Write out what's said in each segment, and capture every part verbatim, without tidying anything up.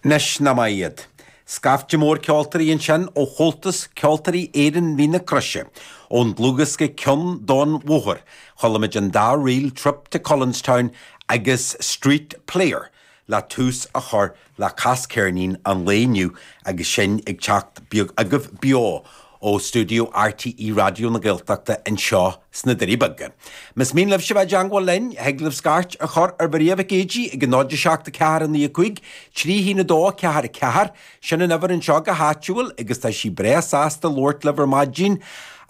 Anois nach maith iad. Scaifte mór ceoltóirí ansin ó Chomhaltas Ceoltóirí Éireann Mín na Croise, ón dlúthdhiosca Ceann don Bhóthar, chuala muid an dá ríl Trip to Cullenstown agus Street Player le tús a chur le Cas Ceirnín an lae inniu agus sinn ag teacht agaibh beo ó stiúideo RTÉ Raidió na Gaeltachta anseo sna Doirí Beaga. Más mian libhse bheith i dteangmháil linn, thig libh scairt a chur ar Mharia Mhic Éadaigh ag náid a seacht a ceathair a naoi a cúig, trí haon a dó ceathair a ceathair, sin an uimhir anseo go háitiúil agus tá sí breá sásta labhairt libh ar maidin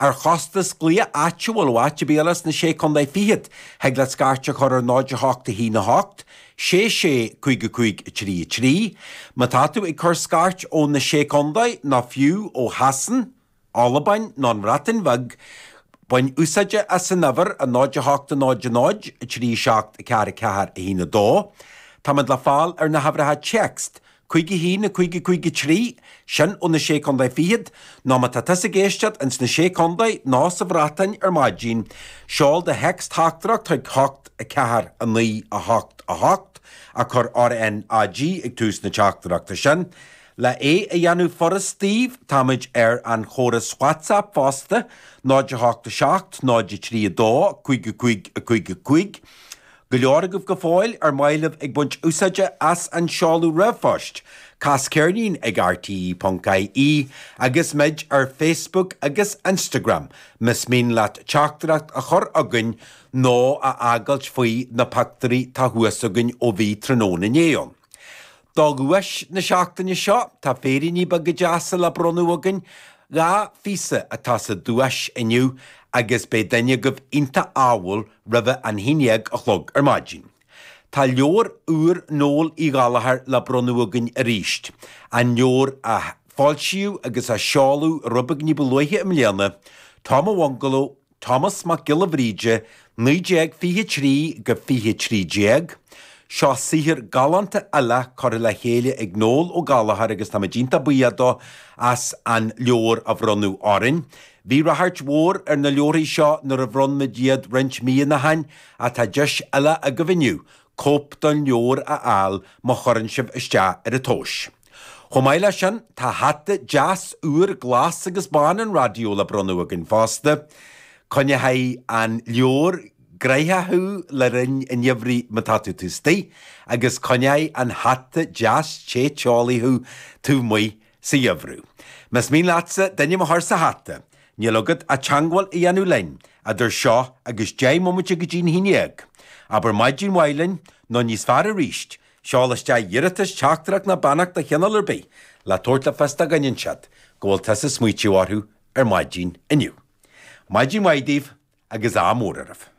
ar chostas glaoch áitiúil ó áit ar bith eile sna sé contae fichead, thig leat scairt a chur ar náid a hocht a haon a hocht, sé sé cúig a cúig a trí a trí. Má tá tú ag cur scairt ó na sé contae nó fiú ó Shasain, Albain nó an Bhreatain Bheag, bain úsáid as an uimhir a náid a hocht a náid a náid a trí seacht a ceathair a ceathair a haon a dó. Táimid le fáil ar na huimhreacha téacs, cúig a haon a cúig a cúig a trí, sin ó na sé contae fichead, nó má tá tusa ag éisteacht ins na sé contae nó sa Bhreatain ar maidin, seol do théacs-theachtaireacht chuig hocht a ceathair a naoi a hocht a hocht, a cuir RNAG ag tús na teachtaireachta sin. Le é a dhéanamh furast daoibh, táimid ar an chóras WhatsApp fosta, náid a hocht a seacht, náid a trí a dó, cúig a cúig a cúig a cúig. Go leor agaibh go fóill ar maith libh ag baint úsáide as an seoladh ríomhphoist, Cas Ceirnín ag RTE ponc IE agus muid ar Facebook agus Instagram, más mian leat teachtaireacht a chur chugainn nó a fhágáilt faoi na pictiúirí tá thuas againn ó bhí tráthnóna inné ann. Do dhuais na seachtaine seo tá féiríní beaga deasa le bronnadh againn, dhá phíosa atá sa duais inniu agus beidh duine agaibh iontach ádhúil roimh an haon déag a chlog ar maidin. Tá leabhar úr Noel Uí Ghallchóir le bronnadh againn arís, an leabhar a foilsíodh agus a seoladh rud beag ní ba luaithe i mbliana, Tom a Bhungaló, Thomas Mac Giolla Bhríde, naoi déag fiche trí go fiche trí déag. Seo saothar galánta eile curtha le chéile ag Noel Ó Gallchóir agus táimid iontach buíoch dó as an leabhar a bhronnadh orainn. Bhí ráchairt mhór ar na leabharthaí seo nuair a bhronn muid iad roinnt míonna ó shin ach tá deis eile agaibh inniu cóip den leabhar a fháil má chuireann sibh isteach ar an tomhas. Chomh maith leis sin, tá hata deas úr glas agus bán an raidió le bronnadh againn fosta. Coinneoidh an leabhar gnoitheach thú le linn an gheimhridh má tá tú taobh istigh, agus coinneoidh an hata deas te teolaí thú taobh amuigh sa gheimhreadh. Más mian leatsa d'ainm a chur sa hata, níl agat ach teangmháil a dhéanamh linn idir seo agus deich mbomaite go dtí'n haon déag. Abair maidin mhaith linn, nó níos fearr arís, seol isteach iarratas, teachtaireacht nó beannacht de chineál ar bith le tabhairt le fios do dhuine inteacht go bhfuil tusa ag smaoitiú orthu ar maidin inniu. Maidin mhaith daoibh agus ádh mór oraibh.